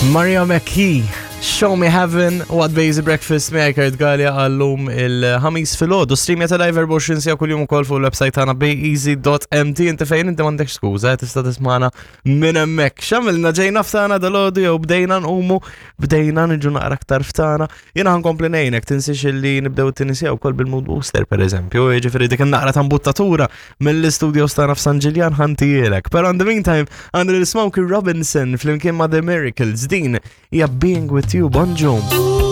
Maria McKee, Show Me Heaven, What Bazy Breakfast, miegħi Kurt Gallia għallum il-ħamis filgħodu. Streamja ta' live 24 sija kuljum ukoll fuq il-website tagħna bayeasy.mt. Inti fejn inti m'għandekx skuża, eh, tista' tismana minn hemmhekk. X'għamilna ġejna ftana dal-għodu jew bdejna nqumu, bdejna niġu naqra aktar ftana. Jiena ħankompli ngħinek, tinsiex illi nibdew it-tieni sija wkoll bil-mood booster pereżempju, jiġifieri dik in-naqra ta' mbuttatura mill-istudios tagħna f'San Ġiljan ħantijielek. Però in the meantime, għandna lil Smokey Robinson flimkien ma' The Miracles din hija Being With You Bonġu.